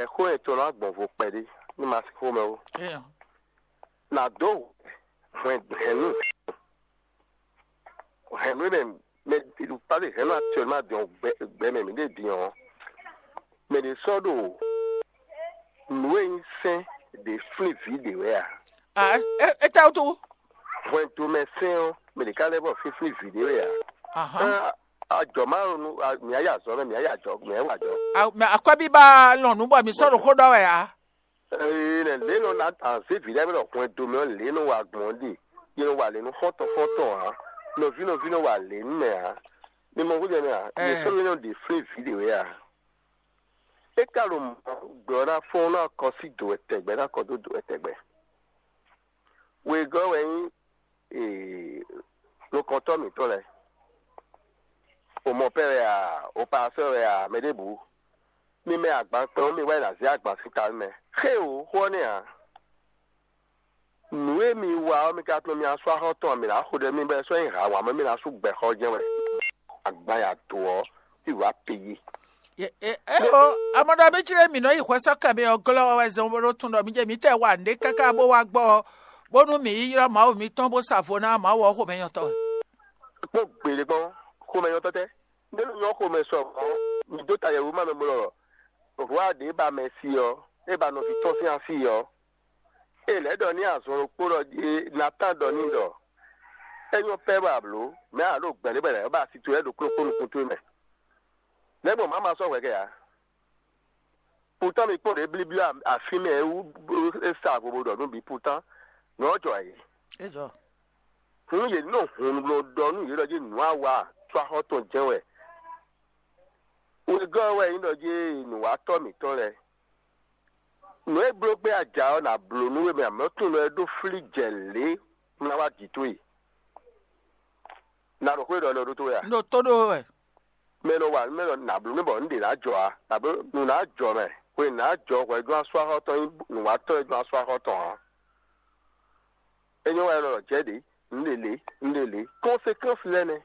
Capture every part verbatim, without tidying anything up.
Xó yɛn tɔn ná gbɔn vo kpɛɖé ní ma sí xomɛ ó. Nà dó hwɛn hɛnnu hɛnnu mɛ mɛ pase hɛnnu actuellement dɔn gbɛ mɛ mi ɖe din ɔ́, mɛ ɖě sɔ́ ɖo nǔ e nyí sɛ́n ɖě flín vǐ ɖě wɛ a? Étɛ́wútu? Hwɛndo mɛ sɛ́n ɔ́, mɛ ɖě ká lɛ́ bɔ fínfín vǐ ɖě wɛ a? Ajɔ ma ɖo nú mǐ yá azɔ mɛ mǐ yá azɔ mǐ yá wa azɔ. Mɛ akwɛ́bíba lɔn nǔ bɔ mǐ sɔ́ ɖo xó ɖɔ wɛ ǎ. Ee, lě nɔ ná azé vǐ lɛ́ɛ mɛ ɖɔ hwɛndo mɛ ɔ́, lě nɔ wa gbɔn ɖe, yě nɔ wa lě nú xɔ́ntɔn xɔ́ntɔn ǎ, nɔví nɔví nɔ wa lě nú mɛ ǎ. Mi mɔ xújɛ mi a? Yě sɔ́ mi nɔ ɖe flé vǐ ɖě wɛ a? É ka ɖo mɔ̌ gbɛ ɔ́ ná fɔ́n ɔ́ ná kɔ sí dǒ wɛ tɛgbɛ ná kɔ dó dǒ wɛ tɛgbɛ. Wegɔ́ wɛ nyí nukɔntɔ́ mǐtɔn lɛ́ɛ. O mɔ pɛ́ wɛ a, o pasɛ́ wɛ a, mɛ ɖěbǔ. Mi mɛ agban kpɛn ɔ́, mi wá yi nǎ zé agban sín ta nú mɛ. Xé o, xó ɔ́ nɛ́ ǎ. Nǔ e mi wa ɔ́, mi ka tunwun mi ná sú axɔ́ tɔn ǎ, mi ná xo ɖɛ mi bɔ é sɔ́ nyí hǎ wǎn mɛ mi ná sú gbɛxɔ jɛ́n wɛ. Agban ya dǒ ɔ́, fí wǎ pe yí. Eo, amɔɖɔ mi jlé mǐ nɔ yi hwɛsɔ́kɛ mɛ ɔ́ glɔ́ wɛ zɔn bó ɖó tun ɖɔ mi jɛ mǐtɛɛ wa nǔɖé káká bó wá gbɔ ɔ́, bónú mǐ yi ylɔ́ Mawu mitɔn bó sa vo ná Mawu ɔ́ xomɛnyɔ́tɔ́ wɛ. Kpɔ́n gbeɖé gbɔn, xomɛnyɔ́tɔ́ tɛ́? Nɛ́ nɔ nyɔ́ xomɛ sɔ mɔ̌, mi dó ta yɛwǔ ma mɛ mɔ ɖɔ hwá ɖě ba mɛ si ɔ́, é ba nɔví tɔn sín asi ɔ́. É lɛ̌ ɖɔ n'i azɔn ɖokpó ɖɔ jí Natan ɖɔ n'i ɖɔ: É nyɔ́ pɛ́ bɔ a blǒ, mɛ̌ a ɖo gbɛ̌ ɖé bɔ è nǎ ba asi towe lɛ́ɛ ɖokpó ɖokpó nukún towe mɛ. Nɛ̌ gbɔn mǎ ma sɔ́ hwɛ kɛ ǎ? Pután mi kpɔ́n ɖě blíblí afí mɛ é wú é sa vo bó ɖɔ nú bǐ pután, nǔ ɔ́ jɔ ayǐ. É jɔ. Hǔn yě nɔ hun ɖɔ ɖɔ nú yě ɖɔ jí nǔ a wa có axɔ́ tɔn jɛ́n wɛ. Wegɔ́ ɔ́ wɛ nyí ɖɔ jí nǔwatɔ́ mǐtɔn lɛ́ɛ. Nǔ e bló gbé a ja ɔ́, nǎ bló nú we mɛ amlɔ́ tunwun ɖɔ é ɖó flí jɛ lě un ná wá jǐ towe. Na ɖo xwé ɖɔ lɔ ɖó towe a? Un ɖo tó ɖó wɛ. Mɛ nɔ wa mɛ nɔ nǎ bló mɛ bɔ un ɖe ná jɔ a? Nǎ bló nǔ ná jɔ mɛ. Hwe nǎ jɔ hwɛ jɔ́n asú axɔ́ tɔn nyí nǔwatɔ́ e jɔ́n asú axɔ́ tɔn ǎ. É nyɔ́ wɛ nɔ jɛ ɖě, un ɖe lě, un ɖe lě. Conséquence lɛ́ɛ nɛ́.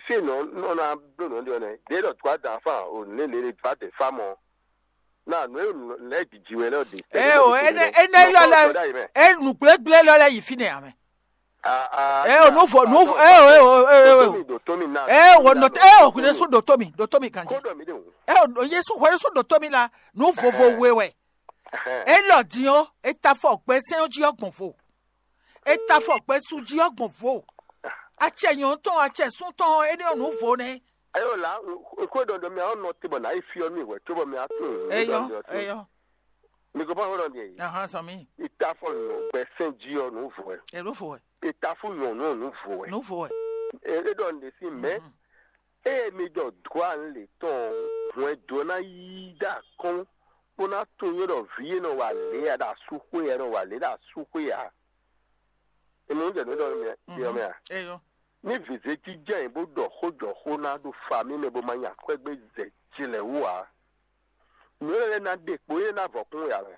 Fí e nɔ nɔ ná bló nǔ ɖe ɔ́ nɛ́. Ɖě ɖɔ dwǎ dǎ fá o nǔ lě lě dwǎ dě fá mɔ. Na nǔ e lɛ́ jiji wɛ lɛ́ ɖe. Eo, énɛ́ énɛ́ lɔ lɛ é nǔgblégbé lɔ lɛ yi fínɛ́ amɛ. Eo, nǔvo nǔvo eo eo eo eo. Eo, nɔ eo hwinɛ sún ɖo tó mi, ɖo tó mi ganji. Eo, Yesu hwinɛ sún ɖo tó mi la, nǔ vovo we wɛ. Elɔ din ɔ́, e ta fɔ gbɛ sɛn ɔ́ jí ɔ́ gbɔn vo. E ta fɔ gbɛ su jí ɔ́ gbɔn vo. Acɛ nyɔ̌nu tɔn, acɛ sún tɔn, é ɖe ɔ́ nǔ vo nɛ́. Ayo la, xwe ɖɔɖɔ mi awo nɔ te bɔ na yi fi ɔ́ mi hwɛ tso bɔ mi atún. Eyɔ, eyɔ. Mi ko pa xwe ɖɔ ni eyi. Ahan sɔmi. Ita fɔ nyɔ gbɛ sɛn jí ɔ nǔ vo ɛ. Elo vo ɛ. Ita fún nyɔ nǔ nǔ vo ɛ. Nǔ vo ɛ. E ɖɔ n de si mɛ. Eye mi ɖɔ dua n le tɔn hwɛn do na yi ɖe akɔn bó ná tunwun ɖɔ vǐ e nɔ wa lě ya ɖo asúxwé ya nɔ wa lě ɖo asúxwé ya. Emi ń jẹ nǔ ɖɔ mi ɔ mɛ a? Eyɔ. Ní vǐzé jínjɛ́n yě bó ɖɔ xó jɔ xó ná ɖo fa mì mɛ bó ma nya akwɛ́gbé zɛ jilɛ wú ǎ. Nǔ élɔ́ lɛ́ɛ ná ɖe kpo, é ná vɔ kún ya mɛ.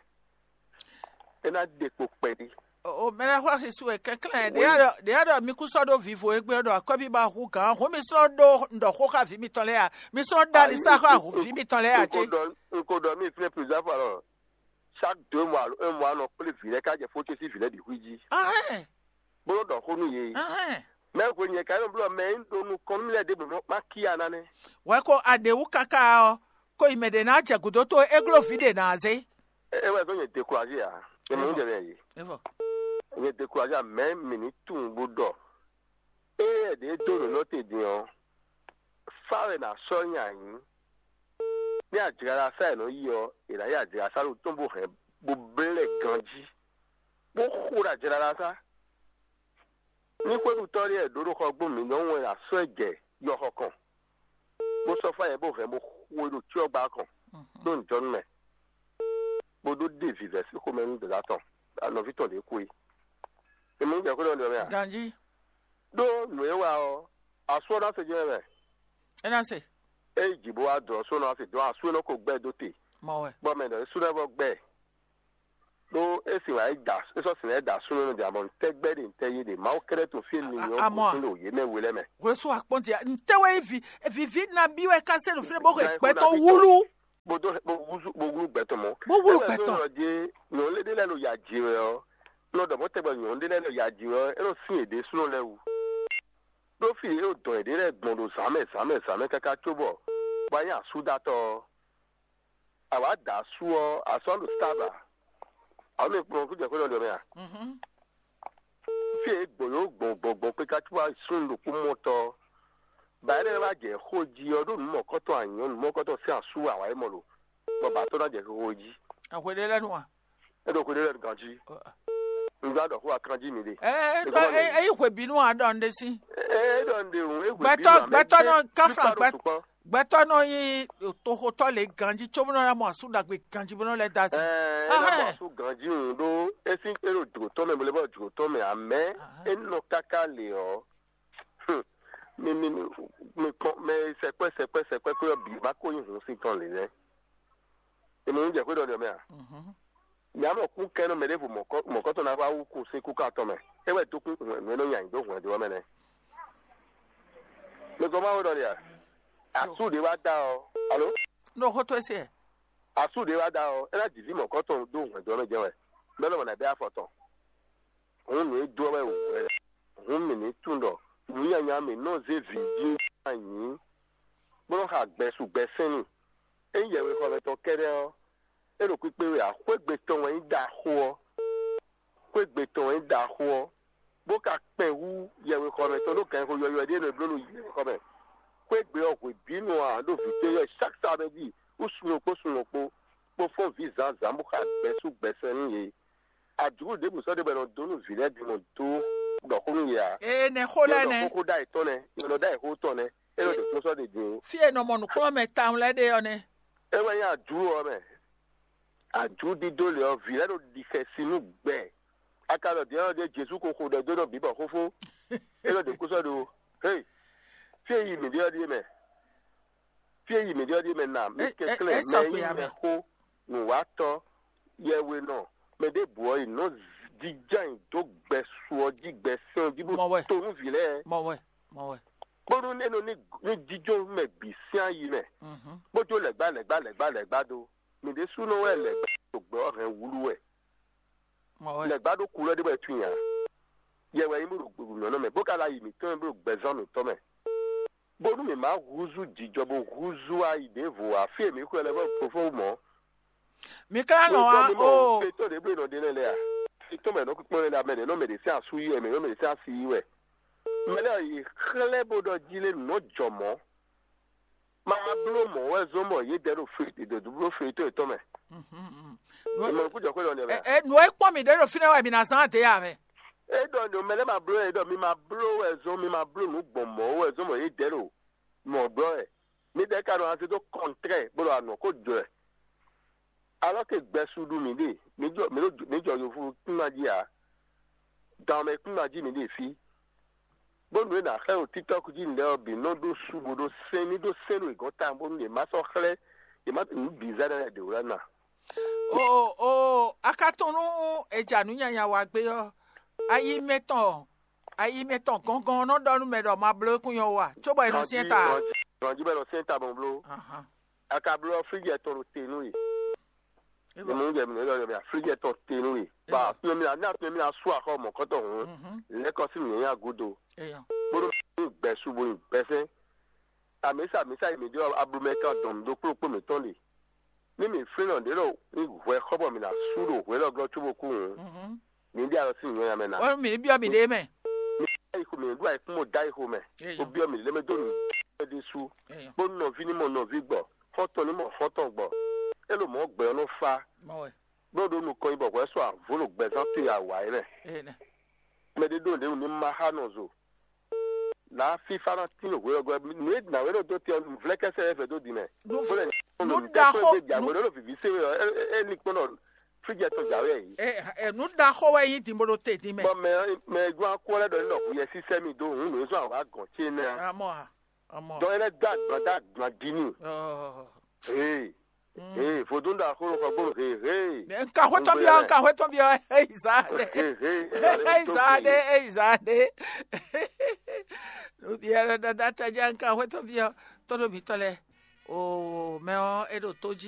É ná ɖe kpo kpɛɖé. O mɛ lɛ́ɛ xɔ xixú wɛ kɛnklɛ́n ɖě a ɖɔ mi kú sɔ́ ɖó vivo égbé ɖɔ akwɛ́bíba hu gǎn hǔn mi sɔ́ ɖó ɖɔ xó xá vǐ mitɔn lɛ́ɛ a? Mi sɔ́ ɖó ali sá xá vǐ mitɔn lɛ́ɛ a cé? N ko ɖɔ mi fínɛ́ plusieurs fois lɔ. Chaque deux mois alo un mois nɔ kplé vǐ lɛ́ɛ ká jɛ fó ce sín vǐ lɛ́ɛ bǐ xwí jí. Bó nɔ́ ɖɔ xó nú yě. Mɛ hwe nyɛ ka nɔ blɔ mɛ e un ɖo nukɔn nú lɛ́ɛ ɖěbǔ nɔ kpán kíá ná nɛ́. Wɛ ko aɖěwú káká ɔ́, ko yi mɛ ɖě ná jɛ gǔdo tó é gló vǐ ɖě ná zé. É wɛ zɔ́n nyɛ découragé ǎ. Nyɛ mɛ ń jɛ mɛ yě. Nyɛ découragé ǎ, mɛ mǐ ní tunwun bó ɖɔ. Ée ɖě dó nǔ nɔ te din ɔ́, fá wɛ nǎ sɔ́ nya nyǐ. Ní ajlaɖasá e nɔ yi ɔ́, è nǎ yi ajlaɖasá ɖo tɔ́n bó hɛn bó blɛ́ ganjí, bó xo ɖo ajlaɖasá. Ní xwéɖutɔ́ ɖé e ɖǒ ɖo xɔgbónu mǐtɔn wɛ è nǎ sɔ́ ɛ jɛ yɔxɔ kɔn, bó sɔ́ fá nyɛ bó hɛn bó xo e ɖo cyɔ́gba kɔn ɖó nǔjɔnú mɛ, bó ɖó ɖe vǐvɛ́ sín xomɛ nú dǒdá tɔn, nɔví tɔn ɖě kú é. Mi mɔ jɛ xwé ɖɔ nǔ ɔ́ mɛ a? Ganjí. Ɖó nǔ e wa ɔ́, asú ɔ́ ná se jɛ́n mɛ. É ná se. É yi jǐ bó wá dɔn só ná se dɔn asú e nɔ ko gbɛ dó te. Mɔ wɛ. Bɔ mɛ ɖɔ é sú ná vɔ gbɛ. Ɖó é sin wǎ é da é sɔ́ sin lɛ́ɛ da súnnu nɔ jà mɔ ntɛ́ gbɛ́ ɖe ntɛ́ yé ɖe Mawu kɛ́ɖɛ́ to fí e mi nyɔ́ gbɔn sín ɖo yě mɛ we lɛ́ɛ mɛ. Hwesú akpɔ́njɛ ntɛ́ wɛ vivi vivi nabí wɛ ká se ɖo fí ɖé bó xwe gbɛtɔ́ wúlú. Bó dó bó wúzú bó Bó wúlò gbɛtɔ́. Nyɔ̌nu ɖé lɛ́ɛ ɖo ya ji wɛ ɔ́, nɔ ɖɔ mɔ̌ tɛgbɛ nyɔ̌nu ɖé lɛ́ɛ ɖo ya ji wɛ ɔ́, é nɔ sín yě ɖésúnɔ lɛ́ɛ wú. Ɖó fí e é ɖo dɔn yěɖée lɛ́ɛ gbɔn ɖo zǎnmɛ zǎnmɛ zǎnmɛ káká cóbɔ bɔ a nyí asúdatɔ́ ɔ́, a wǎ da asú ɔ́, asú ɔ́ ɖo tábà. Ǎ mɛ kplɔ́n kújɛ xwé ɖɔ ɖɔ mɛ a? Fí e gbɔ̌n yó gbɔn gbɔn gbɔn kpé ká cóbɔ súnnu ɖokpó mɔtɔ́ ɔ́, bɔ é lɛ́ wá jɛ xó jí ɔ́, ɖó nǔ mɔ̌kɔtɔn anyɔ̌ nǔ mɔ̌kɔtɔn sín asú wǎ wá é mɔ lo, bɔ bǎ tɔ́ ná jɛ xixo jí. Ahwe ɖé lɛ́ɛ nu a? É ɖo xwe ɖé lɛ́ɛ ganjí. Un gán ɖɔ xó akanjí mi ɖe. Ɛ Ɛ, ɖɔ ɛ, ɛ, ɛ, yi hwebǐnu a ɖɔ un ɖe sí. É ɖɔ un ɖe hǔn é hwebǐnu gbɛtɔ ǎ, mɛ gbɛtɔ nɔ kafla plupart gbɛ du temps. Gbɛtɔ nɔ yi toxotɔ le ganjí tso bó nɔ na mɔ asú ɖagbe ganjí bó nɔ lɛ da sí. Ɛ é ná mɔ Ahɛn. Asú ganjí hǔn ɖó é sín é ɖo jǒtɔn mɛ bó lɛ bɔ jǒtɔn mɛ amɛ. Ahɛn. É nɔ káká le ɔ́. Hmm. Mi mi mi mi kpɔn mɛ sɛkpɛ sɛkpɛ sɛkpɛ kó yɔ bǐ ma ko nyí hǔn sín tɔn lě nɛ́. Èmi ń jɛ xwé ɖɔ ɖɔ mɛ a? Mhm. Mǐ á mɔ kún kɛ́n nɔ mɛ ɖěvo mɔ̌kɔ́tɔn ná wá wú kún sín kúkán tɔn mɛ. É wɛ dó kún hwɛ̌n nǔ e nɔ nya nyi dó hwɛ̌n dó ɔ́ mɛ nɛ́. Mi gɔ́ Mawu ɖɔ ɖe a? Asú ɖě wá dá ɔ́. Alo? Ɖo xó tó e se. Asú ɖě wá dá ɔ́, é ná jǐ vǐ mɔ̌kɔ́tɔn dó hwɛ̌n dó ɔ́ mɛ jɛ́n wɛ. Bɛ́ lɔmɔ̌ ná bɛ́ afɔ tɔn. Hǔn nǔ e dó ɔ́ wɛ wǔ wɛ. Hǔn mǐ ní tunwun ɖɔ nǔ nyanya mǐ nɔ zé vǐ jí anyǐ, bó nɔ́ xa gbɛsu gbɛsɛ́nnu. Ényí yɛhwexɔmɛ tɔn kɛ́ɖɛ́ ɔ́, é ɖo kpíkpé wɛ ǎ. Xwé gbe tɔn wɛ nyí ɖaxó ɔ́. Xwé gbe tɔn wɛ nyí ɖaxó ɔ́, bó ka kpɛn hú yɛhwexɔmɛ tɔn ɖó gǎnxó yɔywɛ ɖé e nɔ bló ɖo yɛhwexɔmɛ. Xwé gbe ɔ́ hwebǐnu ǎ ɖo vǐ tɔn yɔ chaque samedi wú sun ɖokpó sun ɖokpó, bó fɔ́n vǐ zǎnzǎn bó xa gbɛsú gbɛsɛn nú yě. Adǔkú ɖěbǔ sɔ́ ɖe bɔ è nɔ dó nú vǐ lɛ́ɛ bǐ mɔ dó ɖɔ xó nú yě ǎ. Ee, nɛ xó lɛ́ɛ Yɔ nɛ. Xóxó ɖ'ayǐ tɔn nɛ́, yɔ nɔ ɖ'ayǐ xó tɔn nɛ́, é nɔ ɖo kpɔ́n sɔ́ ɖe din ó. Fí e nɔ mɔ nǔkplɔ́nmɛ tawun lɛ́ɛ ɖe ɔ́ nɛ́. É wɛ nyí adǔ ɔ́ mɛ. Adǔ ɖídó lě ɔ́, vǐ lɛ́ɛ ɖo ɖi xɛsi nú gbɛ. A ka ɖɔ dǐ ɔ́ ɖíe Jezu ko xo ɖɛ dó nɔ bǐ bɔ xófó é nɔ ɖe kúsɔ ɖo. Hé, fí e yi mǐ ɖe ɔ́ ɖíe mɛ. Fí e yi mǐ ɖe ɔ́ ɖíe mɛ na mì É- é- kɛnklɛ́n é sɔ mɛ xwe nyí ame. Mɛxó, nǔwatɔ́, yɛhwenɔ, mɛ ɖěbǔ ɔ́ yi nɔ jínjɔ́n ayǐ dó gbɛsu ɔ́ jí gbɛsɛn ɔ́ jí bó Mɔ wɛ. To nú vǐ lɛ́ɛ. Mɔ wɛ, mɔ wɛ. Bónú é nɔ ní ní jíjó mɛ bǐ sín ayi mɛ, Mhm. Bó jó lɛ̌gbá lɛ̌gbá lɛ̌gbá lɛ̌gbá dó. Mǐ ɖésúnɔ wɛ lɛ̌gbá ɖo gbɛ ɔ́ hɛn wúlú wɛ. Mɔ wɛ. Lɛ̌gbá ɖó kulɔ́ ɖé bɔ é tunwun ǎ. Yɛ wɛ nyí bó ɖo gběgběmlɔ́nɔ mɛ, bó ka ɖo ayi mǐtɔn mɛ bó ɖo gbɛzán mǐtɔn mɛ. Bónú mǐ má húzú jǐjɔ bó húzú ayi ɖěvo ǎ, fí e mǐ xwɛ lɛ́ vɔ́ fofó mɔ̌. Mi ka nɔ wá o. Fetɔ́ ɖě bló nɔ ɖe lɛ́ɛ lɛ́ɛ a? Fetɔ́ mɛ nɔ kpɔ́n lɛ́ɛ lɛ́ɛ, mɛ ɖě nɔ mɛ ɖě sín asú yí wɛ, mɛ ɖě nɔ mɛ ɖě sín asi yí wɛ. Mɛ lɛ́ɛ yi xlɛ́ bó ɖɔ jí lé nǔ nɔ jɔ mɔ̌. Ma bló mɔ̌ wɛ zɔ́n bɔ yě dɛ ɖo fetɔ́ yětɔn mɛ. Ìmọ̀ kú jɔ xwé lɔ nɛ mɛ. Nǔ e kpɔ́n mì ɖě ɖo fínɛ́ wɛ mi ná zán adě ya mɛ. É ɖɔ nǔ mɛ lɛ́ɛ ma bló ɛ ɖɔ mi ma bló wɛ zɔ́n, mi ma bló nǔ gbɔn mɔ̌ wɛ zɔ́n bɔ yě dɛ ɖo mɔ̌ ɖɔ wɛ. Mi ɖɛ ka nɔ aze dó kɔntrɛ bó ɖo anɔ kó jɔ ɛ. Alɔ ke gbɛsu ɖu mǐ ɖe, mǐ jɔ mǐ ɖo mǐ jɔ yovo kúnma jí ǎ. Dan mɛ kúnma jí mǐ ɖe fí. Bónú è nǎ xlɛ́ ɖo TikTɔk jí nǔɖé ɔ́ bǐ nɔ ɖó su bó ɖó sɛn ní ɖó sɛn ɖo è gɔ́n tawun bónú yě má sɔ́ xlɛ́ yě má nǔ bǐ zɛ ɖɔ lɛ́ ɖě wlɛ́ ná. O o a ka tunwun nú è ja nǔ nyanya wa gbé ɔ́, ayi mɛtɔn ayi mɛtɔn gɔngɔn ɔ́ nɔ ɖɔ nú mɛ ɖɔ ma bló kún nyɔ́ wa, cóbɔ è nɔ syɛ́n ta. Ganjí bɛ nɔ syɛ́n ta bɔn bló. Ahan. A ka bló ɔ́, fíjɛ tɔn ɖo te nú we. Ewɔ. Ní mú jɛ mi lɔ yɔ mi aflijɛ tɔn te nú we. Ba Ewɔ. Afi mi na ní afi mi na sú axɔ mɔ̌kɔtɔn hǔn. Mhm. Lɛ́kɔ sín nǔnyanya gúdo. Eyɔ. Bónú mi gbɛsu bo nyi gbɛsɛn. Amǐsa amǐsa yi mi ɖɔ ablumɛ kan dɔn mi ɖokpó ɖokpó mǐtɔn ɖe. Ní mi flín nɔ ɖě ɖo ní hwɛ xɔ bɔ mi na sú ɖo hwɛ lɔ glɔ́ cóbó kú hǔn. Mhm. Mi ɖe alɔ sín nǔnyanya mɛ ná. Ɔ mi ɖe biɔ mi ɖe mɛ. Mi ɖo ayixo mɛ, mi ɖo ayixo mɛ, da ayixo mɛ. Eyɔ. Wo biɔ mi lé mɛ dó nǔ ɖé sú. Eyɔ. Bó nɔví ní mɔ nɔví gbɔ, xɔ́ntɔn ní mɔ xɔ́ntɔn gbɔ. É ɖo mɔ̌ gbɛ ɔ́ nɔ fá. Mɔ wɛ. Bó ɖo nukɔn nyi bɔ hwɛ sɔ avǒ ɖo gbɛzán towe awa é mɛ. Ene. Mɛ ɖé ɖo nǔɖé wú ní ma xá nɔ zo. Là á fífá ná tín hwe ɔ́ gɔ́. Nǔ e nǎwe ɖo dó te ɔ́, nǔvlɛ́kɛ́sɛ wɛ vɛ dó din mɛ. Nǔ- Bó lɛ nǔ nǔ ɖaxó- ɖaxó gbé dě nǔ- àgbo ɖé ɖo vǐví sé wɛ ɔ́, é- é- é ní kpɔ́n ɖɔ fíjɛ tɔn jǎwe yě. Ɛ ɛ nǔ ɖaxó wɛ nyí dǐnbolo te dín mɛ. Bɔ mɛ mɛ e dó akú ɔ́ lɛ́ ɖɔ ní ɖɔ hu yɛ sísɛ́ mi dó hǔn nǔ e zɔ́n awǎ gɔ̌n ce nɛ́ ǎ. Amɔ a amɔ. Dɔn é lɛ́ dó agban dó agban dín n'i. Ɔɔ. Ee. Mm. Ee, vodún ɖo axó xɔ gbónu he he. Nka xwétɔn byɔ, nka xwétɔn byɔ, eyi zá ɖe. He he. Eyi zá ɖe, eyi zá ɖe. Nubiɛ ɖɔ dada tɛjá nka xwétɔn byɔ, tɔɖo mǐtɔn lɛ. O mɛ ɔ, e ɖo tó jí.